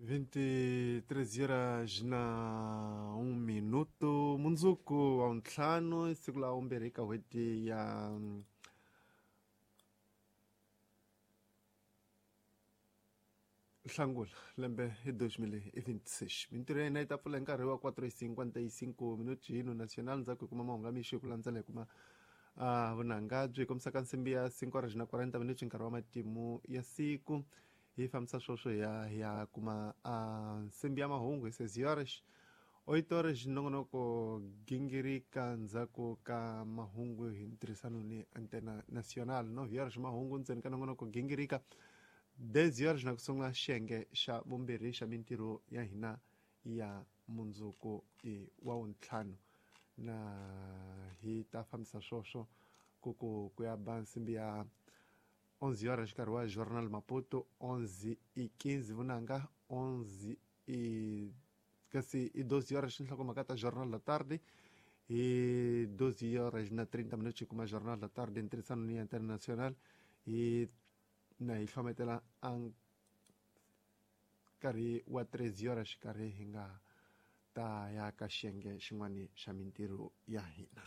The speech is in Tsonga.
23 horas na 1 minuto. Mundzuku wa ntlhanu, siku la vumbirhi ka n'hweti ya Nhlangula lembe hi 2026. Mintirho ya hina yi ta pfula hi nkarhi wa 4:55 minuti hino national. Ndzhaku hi kuma mahungu ya mixo, hi ku landzela hi kuma vunanga byi kombisaka nsimbi ya 5 horas na 40 minuti, nkarhi wa matimu ya siku. Hi fambisa swoswo hi ya hi ya kuma nsimbi ya mahungu hi 6 horas. 8 horas nongonoko gingirika ndzhaku ka mahungu hi ntirhisano ni Antena National. 9 horas mahungu ndzeni ka nongonoko gingirika. 10 horas na ku sungula xiyenge xa vumbirhi xa mintirho ya hina ya mundzuku wa wuntlhanu, na hi ta fambisa swoswo ku ku ku ya ba nsimbi ya 11 horas, nkarhi wa Journal Maputo. 11:15 vunanga, 11 i kasi i 12 horas nhlokomhaka ta Jornal da Tarde. Hi 12 horas na 30 minutos hi kuma Jornal da Tarde ntirhisano ni International, hi na hi hlometela a nkarhi wa 13 horas, xikarhi hi nga ta ya ka xiyenge xin'wana xa mintirho ya hina.